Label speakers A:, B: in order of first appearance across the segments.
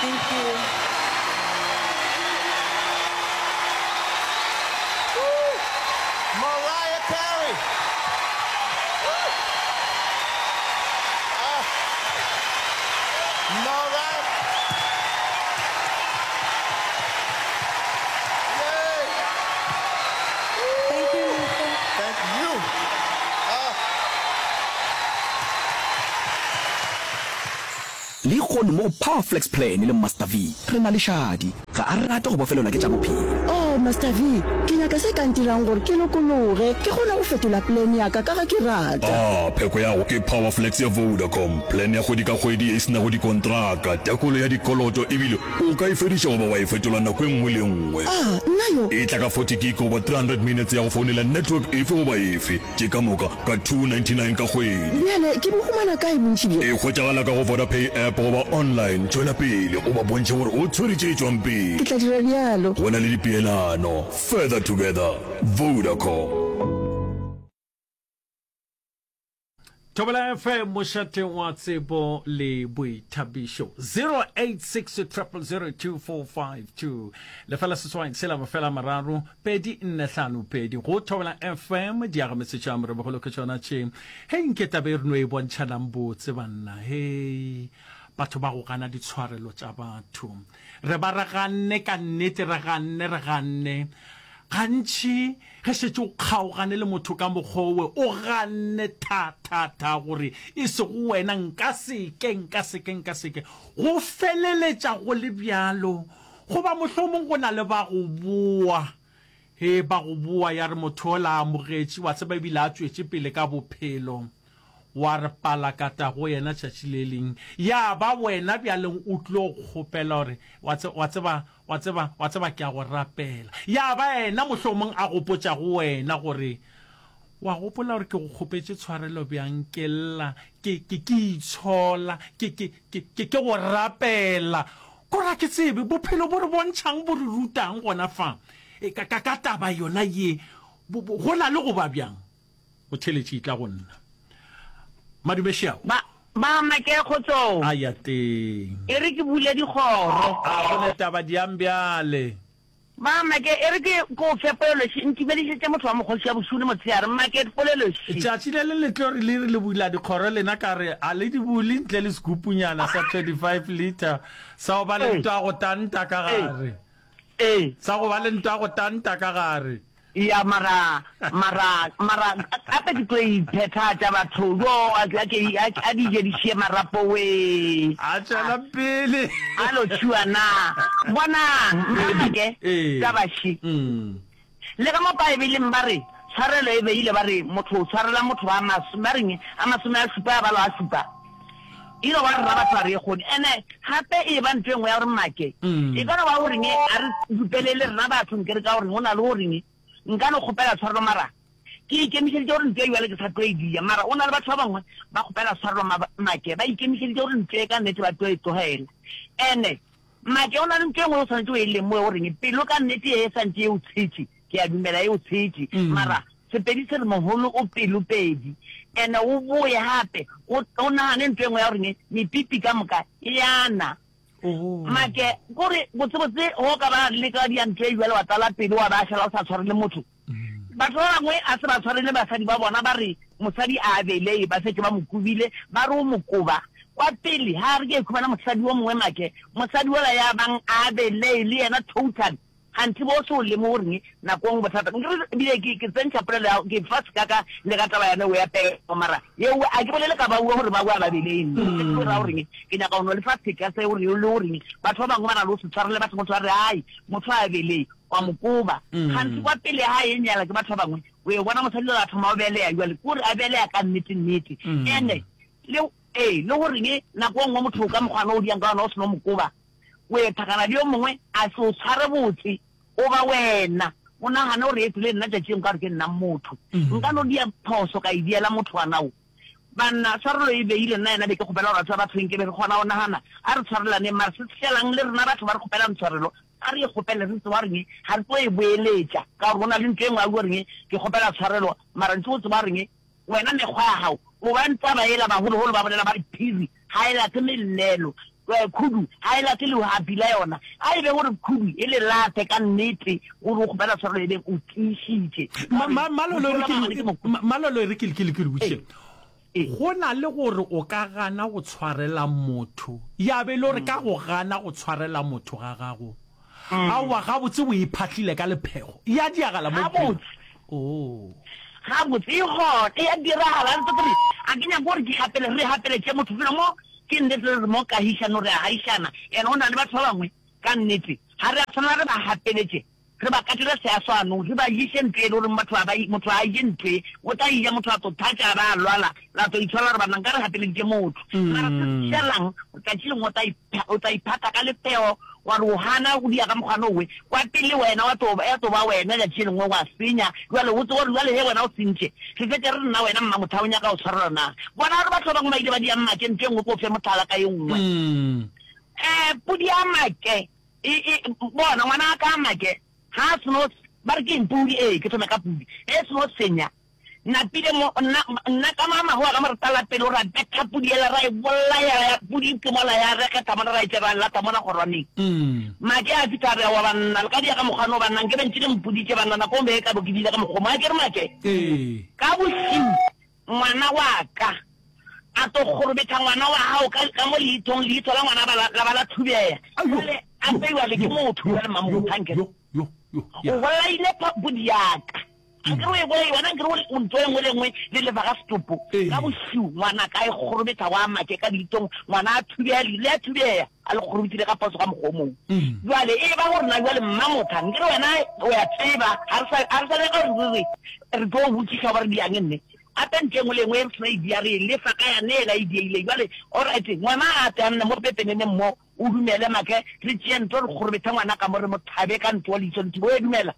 A: Thank you.
B: Mariah Carey. Ah. Mariah. Yay.
A: Thank you, Lisa.
B: Thank you. Ah.
C: Lehono mo go Power Flex Plan le Master V, re na le Shadi. Ga a rate go bofelelwa ke tša bophelo.
D: Oh, Master V, ke nyaka se ka ntirang gore ke lokologe, ke kgone go fetola plan ya ka ka ge ke rata.
E: Ah, pheko ya go ke Power Flex ya Vodacom, plan ya kgwedi ka kgwedi ye e se nago dikontraka, tekolo ya dikoloto ebile o ka e fediša goba wa e fetola nako e nngwe le e nngwe.
D: Ah, nna yo!
E: E tla ka 40 gig goba 300 minutes ya go founela network efe goba efe. Tše ka moka ka 299 ka kgwedi.
D: Bjale ke bo humana kae bontši bjo?
E: E hwetšagala ka go Vodapay app goba online. Tšwela pele o ba bontšhe gore o tshwere tše tšwang pele.
D: Ke tla dira bjalo.
E: Go na le dipeelano. Further together. Vodacom.
F: Thobela FM mošate wa tsebo le boithabišo 086 0002452 lefela seswai tshela mafela mararo pedi nne hlano pedi go Thobela FM diagametse tša morebogolo ke tšona tše hei nke tabe e re no e bontšhanang botse banna hei batho ba go gana ditshwarelo tša batho Re ba re ganne ka nnete, re ganne, re ganne. Gantši ge šetše o kgaogane le motho ka mokgwa owe, o ganne tha, tha, tha gore e sego wena, nka se ke, nka se ke, nka se ke. Go feleletša go le bjalo. Goba mohlomong go na le ba go boa, he, ba go boa ya re motho ola a amogetše, wa tseba ebile a tšwetše pele ka bophelo. Wa re palakata go yena tšatši le leng, ya ba wena bjaleng o tlo kgopela gore, Wa tse, wa tseba, wa tseba, wa tseba ke a go rapela. Ya ba yena mohlomong a gopotša go wena gore, Wa gopola gore ke go kgopetše tshwarelo bjang, ke lla, ke, ke, ke itshola, ke, ke, ke, ke, ke go rapela. Kore ga ke tsebe, bophelo bo re bontšhang, bo re rutang gona fa, e, ka, ka, ka taba yona ye, bo, bo, go na le go ba bjang? O theletše etla go nna. Madume Šiao.
G: Ba, ba make kgotsong.
F: A ya teng.
G: E re ke bule dikgoro.
F: A go ne taba diang bjale.
G: Ba make, e re ke, ke o fe poleloši, ntumedišetše motho wa mokgoši wa bošego le motshehare, make poleloši.
F: Tšatši le le le tlo re le re le bula dikgoro lena ka re a le di bule ntle le sekupunyana sa 25 litre sa go ba le ntwa go tanta ka gare.
G: Ee.
F: Sa go ba le ntwa go tanta ka gare.
G: Ya mara mara mara gape ke tlo iphethatša batho jo a a ke a di je di šie marapo wee.
F: A tšwela pele.
G: A lo tšhua na. Bonang mmake taba še. Le ka mo Paebeleng ba re tshwarelo e beile ba re motho o tshwarela motho a mas ba reng a masome a šupa a balwa a šupa. E no ba rena batho ga re e kgone. Ene gape e ba ntho e nngwe ya gore make e ka no ba goreng a re dupelele rena batho nke re ka goreng go na le goreng nka no kgopela tshwarelo mara ke ikemišeditše gore ntho e bjale ke sa tlo e dia mara o na le batho ba bangwe ba kgopela tshwarelo make ba ikemišeditše gore ntho e ka nnete ba tlo e tlogela. Ene make o na le ntho e nngwe o swanetše o e lemoge goreng pelo ka nnete e santše e o tshetše Ke a dumela e o tshetše. Mara Sepedi se re mogolo o pelo pedi. Ene o boye gape o o nagane ntho e nngwe ya gore mepipi ka moka e ya na. Make kore botsebotse go ka ba le ka dia ntho e bjalo wa tlala pelo wa ba šala o sa tshwarele motho. Batho ba bangwe a se ba tshwarele basadi ba bona ba re mosadi a beleye ba šetše ba mo kobile ba re o mokoba. Kwa pele ha re ke khumana mosadi o mongwe make mosadi ola ya bang a beleye le yena total Kganthe bo se o lemoge goreng nako nngwe bothata nkere ebile ke ke tsentšha polelo ya ke fa sekaka le ka taba yane o ya pego mara yeo a ke bolele ka baue gore baue a ba beleng ke tlo ra goreng ke nyaka go no le fa seka se gore le goreng batho ba bangwe ba na le go se tshwarele batho motho a re ai motho a beleng wa mo koba kganthe kwa pele ga e nyala ke batho ba bangwe o e bona mosadi a thoma o beleya jale kore a beleya ka nnete nnete ene le ee le goreng nako nngwe motho ka mokgwana o diang ka ona o seno mo koba O ethagana le yo mongwe a se o tshware botse, o ba wena o nagane gore etse le nna tšatši nka gore ke nna motho. Nka no dia phoso ka e diela motho wa nao. Banna, tshwarelo e beile nna yena be ke kgopela gore batho ba batho nke be re kgona go nagana, a re tshwarelaneng mara se tlelang le rena batho ba re kgopelang tshwarelo a re e kgopele re tseba goreng ga re tlo e boeletša ka gore go na le ntho e nngwe a bua goreng ke kgopela tshwarelo mara ntse o tseba goreng wena mekgwa ya gago o ba taba ela bagologolo ba bolela ba re phiri ga e late mellelo. Khudu ga e late lehapi la yona. A e be gore khudu e le late ka nnete gore o kgopela tshwarelo e beng o tiišitše.
F: Malolo e re ke le botšiše. Go na le gore o ka gana go tshwarela motho, ya be e le gore ka go gana go tshwarela motho ga gago, aowa gabotse o iphahlile ka lephego, ya diagala mo bophelong.
G: Oh. Gabotse, e gona, e a diragala. Re re, a ke nyake gore ke gapele, re gapeletše motho felo mo, ke nnete re re mo kahišano re a gaišana, and go na le batho ba bangwe, ka nnete, ga re a tshwanela re ba gapeletše, re ba katele seaswanong, re ba ješe ntho e le goreng batho ga ba, motho ga a je ntho e, o tla e ja motho a tlo thatša a ba a lwala, la tlo itshola gore banna nka re gapeleditše motho. Mara se šalang, tšatši lengwe o tla o tla iphatha ka lephego wa re o gana go dia ka mokgwa nowe, kwa pele wena wa tlo, ya tlo ba wena tšatši le lengwe wa senya, bjale o tsebe gore bjale ge wena o sentše, re fetše re re nna wena mmamotha o nyaka go tshwarelwa na? Bona gore batho ba bangwe ba ile ba dia make ntho e nngwe ko fe mohlala ka e nngwe. Um podi ya make e, e, bona ngwana wa ka make ga a seno, ba re ke eng podi, ee ke thome ka podi, ge e seno senya Napile mo, nna, nna ka mamago wa ka mo re tala pelo ra betha pudi yela ra e bolaya, ya pudi ke mola ya rekgetha mola ra e tše ra lata mola kgorwaneng. Make a fihla a re, Aowa banna, le ka dia ka mokgwa no banna, nke be ntše le mpoditše banna nako e be e ka bo ke bile ka mokgwa mo. A ke re Make, ka bošiu ngwana wa ka a tlo kgorobetha ngwana wa gago ka, ka mo leithong, leitho la ngwana ba la, la ba la thubega. Jwale a beiwa le ke motho jwale Mmamotha nke re. O bolaile pudi ya ka. Nkere o e bolai wena, nkere o ntho e nngwe le nngwe le lefa ga setopo. Ka bošiu ngwana ka e kgorobetsa wa make ka leitong, ngwana a thubeya leino le a thubeya, a le kgorobetsile ka phoso ka mokgwa o mongwe. Jwale e ba gore na jwale mmamotha, nkere wena o ya tseba, ga re sa ga re sa nyaka gore re re re tlo botšiša goba re diang nne. Gape ntho e nngwe le e nngwe e re seno e dia re e lefa ka yane ela e dieileng. Jwale alright ngwana a tle a nne mo pepeneneng mo, o dumele make re tšee ntho re kgorobethe ngwana ka mo re mo thabe ka ntho leihlo le thibe, o e dumela?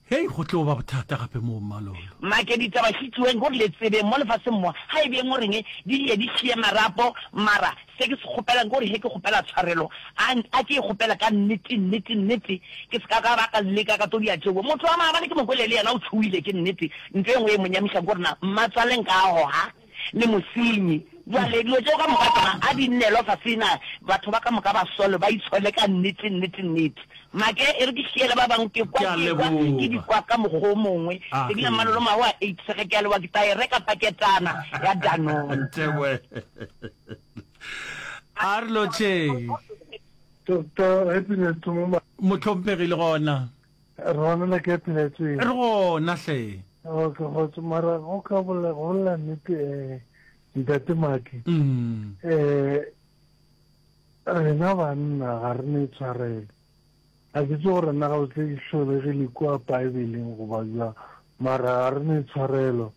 F: Hei, go tlo ba bothata gape moo, Mmalolo.
G: Make ditaba šitšweng gore le tsebeng mo lefaseng mo, ga e beng goreng di ye di šie marapo, mara se ke se kgopelang ke gore ge ke kgopela tshwarelo, a, a ke e kgopele ka nnete, nnete, nnete, ke se ka ka ba ka leka ka tlo dia tšeo. Motho wa maabane ke mo kwele le yena o tšhogile, ke nnete. Ntho e nngwe e mo nyamišang ke gore na mmatswale nka a goga le mosenyi. Bjale dilo tšeo ka moka tšona a di nnelwa fase na batho ba ka moka ba sole ba itshole ka nnete nnete nnete. Make e re ke šiele ba bangwe ke kwa
F: Ke a
G: ke kwa ke di
F: leboga.
G: kwa ka mokgwa o mongwe.
F: A
G: Ebile
F: ge.
G: Mmalolo Maho a AIDS ge ke a leboga ke tla e reka paketana ya Danone.
F: Teboe. A re lotšheng.
A: Doctor Happiness Thomoma.
F: Mohlomphegi le gona.
A: Re gona le ke pheletseng.
F: Re gona hle.
A: Okay, kgotso mara go ka bolela go bolela nnete eh ntate Maki.
F: Mm.
A: Eh rena banna ga re ne tshwarelo. Ga ke tse gore nna ga botse di hlolegile kua Bibleng goba jwa mara ga re ne tshwarelo.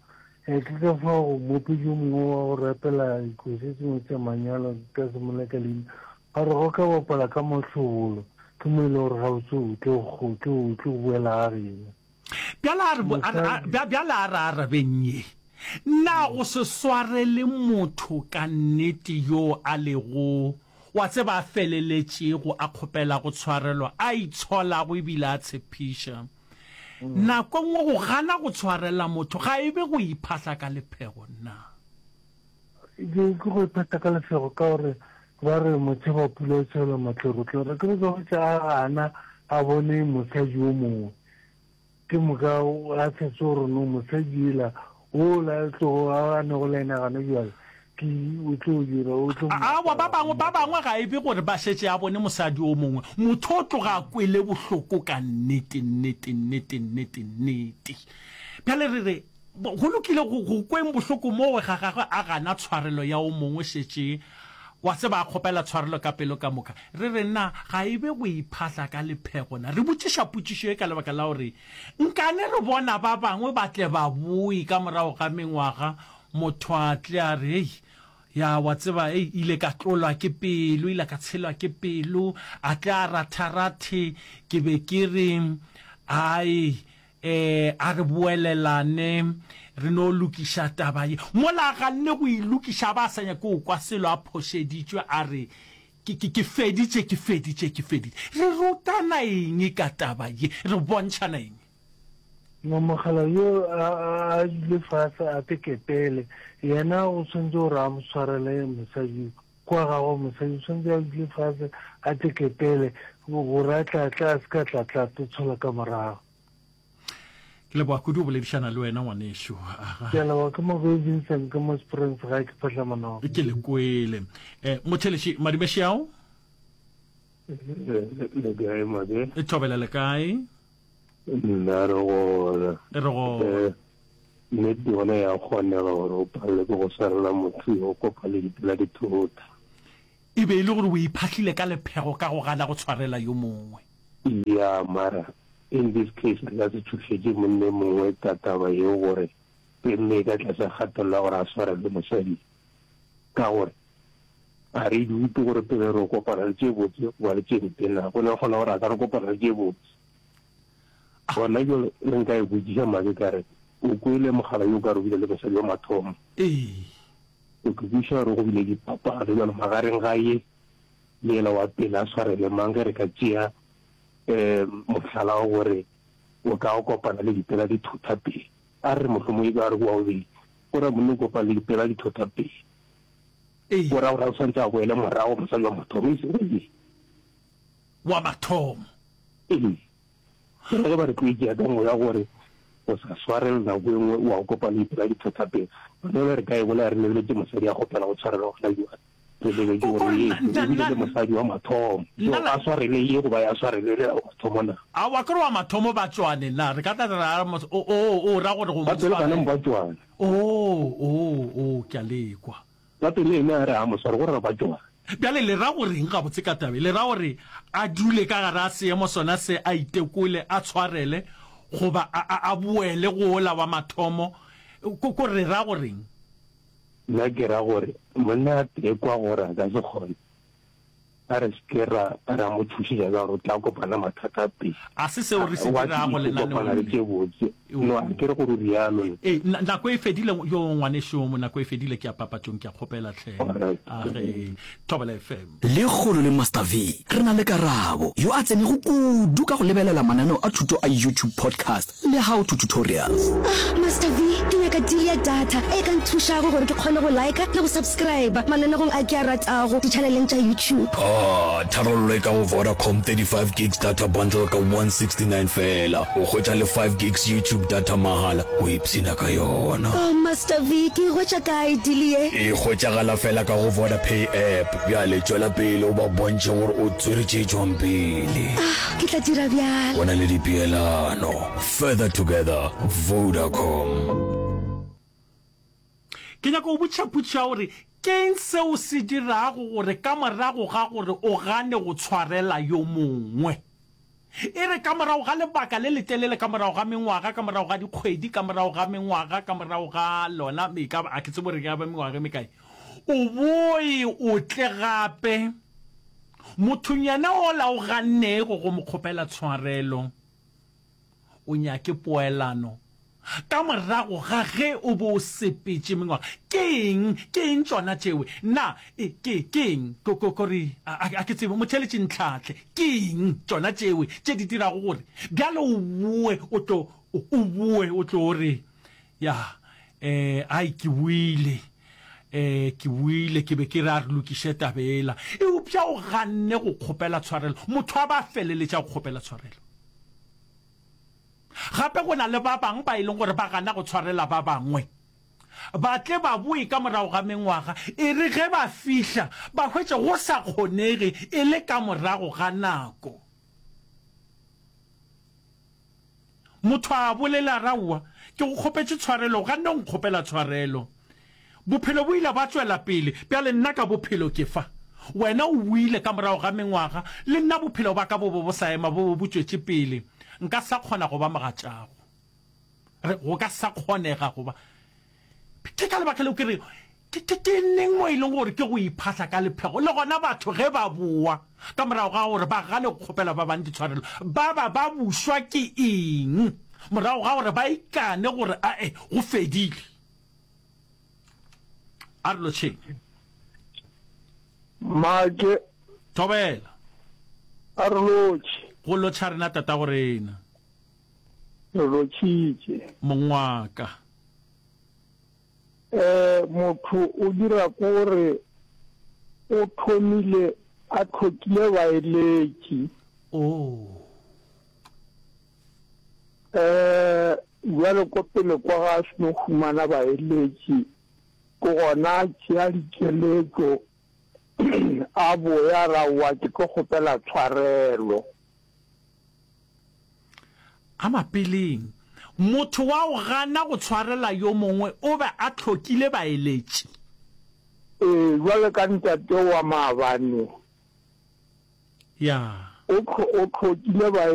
A: Eh ke ka fao go mopedi yo mongwe wa go rapela dikoši sengwe tša manyalo ka se moleka leina Ba re go ka bapala ka mohlobolo, ke mo e le gore gabotse o tlo, o tlo, o tlo boela ga geno.
F: Bjale a re, a re, a, bjale a re arabeng ye. Na go se swarele motho ka nnete yo a lego, wa tseba, a feleletšego a kgopela go tshwarelwa, a itsholago ebile a tshepiša? Nako e nngwe go gana go tshwarela motho ga e be go iphahla ka lephego na?
A: Ke ke go iphetha ka lefego ka gore ba re motšheba pula o tšhela matlorotloro. Ke re ka hwetša a gana a bone mosadi o mongwe. Ke moka a sa tsebe gore no mosadi ela ola a tlogo a nego le yena gana bjale ke o tlo dira o tlo mo
F: Aowa, ba
A: apara
F: bangwe ba
A: mo.
F: bangwe ga e be gore ba šetše a bone mosadi o mongwe. Motho o tloga a kwele bohloko ka nnete, nnete, nnete, nnete, nnete. Bjale re re Go lokile go, go kweng bohloko mowe ga gagwe a gana tshwarelo ya o mongwe šetše wa tseba a kgopela tshwarelo ka pelo ka moka. Re re na ga e be go iphahla ka lephego na? Re botšiša potšišo ye ka lebaka la gore nkane re bona ba bangwe ba tle ba boe ka morago ga mengwaga motho a tle a re hei ya wa tseba ei ile ka tlolwa ke pelo ile ka tshelwa ke pelo a tle a ratharathe ke be ke re ai Ee, a re boelelane, re no lokiša taba ye. Mola a ganne go e lokiša, a ba a sa nyake go kwa selo, a phošeditšwe, a re, Ke, ke, ke feditše, ke feditše, ke feditše. Re rutana eng ka taba ye? Re bontšhana eng?
A: Mamogela yo a, a, a dule fase a teketele, yena o swanetše gore a mo swarele mosadi. kwa gagwe mosadi o tshwanetse a dule fase a teketele gore a tla tla a se ka tla tla tlo tshola ka morago.
F: Ke leboga kudu go boledišana le wena ngwanešu. Aga.
A: Ke a leboga ke mo Vincent ke mo Springs gae ke phahla monogo.
F: Ke le kwele. Eh, motheletši Madumeši ao?
H: Le kae Mabe?
F: E thobela le kae?
H: Nna re gona.
F: Re gona.
H: Eh, nnete yona ya kgonega gore o palelwe ke go swarela motho yo o kopa le dipela dithota.
F: E be e le gore o iphahlile ka lephego ka go gana go tshwarela yo mongwe.
H: Ya, mara in this case re ka se tšhošetše monna e mongwe ka taba yeo gore re mmee ka tlase ga kgatelelo ya gore a swarele mosadi, ka gore ga re dute gore pele re kopana le tše botse goba le tše mpe na. Go no kgona gore a ka re kopana le tše botse. Gona bjale ge nka e botšiša Make ka re, O kwele mogala yo ka re o bile le mosadi wa mathomo?
F: Ee.
H: O ke kwešiša gore go bile diphapano bjalo magareng ga ye le yela wa pele a swarele mang ge re ka tšea um mohlala wa gore o ka o kopana le dipela di thotha pele. A re re mohlomongwe e be a re wa bobedi, o ra monna o kopana le dipela di thotha pele.
F: Ee.
H: O ra gore a o swantse a boele morago mosadi wa mathomo e sego ye.
F: Wa mathomo.
H: Ee. Ke ra ge ba re tlo e tšea ka moya gore o sa swarele nako e nngwe wa go kopana le dipela di thotha pele. Gona bjale re ka e bolaya re lebeletše mosadi a kgopela go tshwarelwa gona bjale. Re lebetše gore ye o bile le mosadi wa mathomo. So a swarele ye goba ya swarele yela wa mathomo na?
F: Aowa ke re wa mathomo ba tšwane na? Re ka tla ra re o o o ra gore go mo
H: Ba pele
F: tshwarela.
H: gana ba tšwane.
F: O o o ke a le kwa.
H: Ka pele ene a re a mo sware go re ba tšwa.
F: Bjale le ra go reng gabotse ka taba ye? Le ra gore a dule ka gare a seemo sona se, a itekole, a tshwarele, goba a, a, a boele go wola wa mathomo? Ko, ko re ra go reng?
H: Nna ke ra gore monna a tekwa gore a ka se kgone. A re se ke ra, ra mo tšhošetša ka gore o tla kopana mathata pele.
F: A se seo re se
H: Wa
F: dirago
H: tlo
F: lenaneong
H: kopana le
F: le.
H: tše botse. No, a ke re gore o rialo.
F: Ee, na, nako e fedile, yo ngwanešu, nako e fedile, ke ya papatšong, ke a kgopela hle.
H: Alright.
F: A ge, Thobela FM.
C: Lekgono le Master V re na le Karabo, yo a tsenego kudu ka go lebelela mananeo a thuto a YouTube podcast le how to tutorials.
I: Ah, Master V, ke nyaka deal ya data e ka nthušago gore ke kgone go liker le go subscriber mananegong a ke a ratago ditšhaneleng tša YouTube.
E: Ah, tharollo e ka go Vodacom 35 gigs data bundle ka 169 feela. O hwetša le 5 gigs YouTube data mahala, o ipshina ka yona.
I: Oh, Master V, ke e hwetša kae deal ye?
E: E hwetšagala feela ka go Vodapay app. Bjale tšwela pele o ba bontšhe gore o tswere tše tšwang pele.
I: Ah, ke tla dira bjalo.
E: Go na le dipeelano. Further together, Vodacom.
F: Ke nyaka go botšiša potšišo ya gore ke'ng seo se dirago gore ka morago ga gore o gane go tshwarela yo mongwe, e re ka morago ga lebaka le letelele, ka morago ga mengwaga, ka morago ga dikgwedi, ka morago ga mengwaga, ka morago ga lona, e ka ba, a ke tsebe gore e ka ba mengwaga e mekae, o boe o tle gape mothong yena ola o gannego go mo kgopela tshwarelo, o nyake poelano ka morago ga ge o bo o sepetše mengwaga. Ke eng, ke eng tšona tšewe? Na e, ke, ke eng? Ko, ko, kore, a, a, a ke tsebe, motheeletši ntlhahle. Ke eng tšona tšewe tše di dirago gore bjale o boe o tlo, o, o boe o tlo re, Ya, eh, ai, ke boile, eh, ke boile, ke be ke re a re lokiše taba yela. Eupša o ganne go kgopela tshwarelo. Motho a ba feleletša go kgopela tshwarelo. Gape go na le ba bangwe ba e leng gore ba gana go tshwarela ba bangwe. Ba tle ba boe ka morago ga mengwaga, e re ge ba fihla ba hwetše go sa kgonege e le ka morago ga nako. Motho a bolela a re, Aowa, ke go kgopetše tshwarelo, o ganne go nkgopela tshwarelo. Bophelo bo ile ba tšwela pele, bjale nna ka bophelo ke fa. Wena o boile ka morago ga mengwaga, le nna bophelo ba ka bo be bo sa ema, bo be bo tšwetše pele. Nka sa kgona go ba mogatšago. Re, go ka sa kgonega go ba. Ke ka lebaka leo ke rego, ke, ke, ke neng mo e leng gore ke go iphahla ka lephego? Le gona batho ge ba boa ka morago ga gore ba gane go kgopela ba bang ditshwarelo, ba ba ba bušwa ke eng morago ga gore ba ikane gore ae, go fedile? A re lotšheng.
J: Make.
F: Thobela.
J: A re lotšhe.
F: Go lotšha rena tatago rena.
J: Re lotšhitše.
F: Mong wa ka.
J: Eh, motho o dira kore. O thomile a hlokile baeletši.
F: Oh.
J: Eh, bjale ko pele kwa ga a seno humana baeletši, ke gona a tšea dikeletšo a boya a re aowa ke tlo kgopela tshwarelo.
F: A mapeleng, motho wa go gana go tshwarela yo mongwe o be a hlokile baeletši.
J: Ee, bjale ka ntate wa maabane.
F: Ya.
J: O, o hlokile baeletši.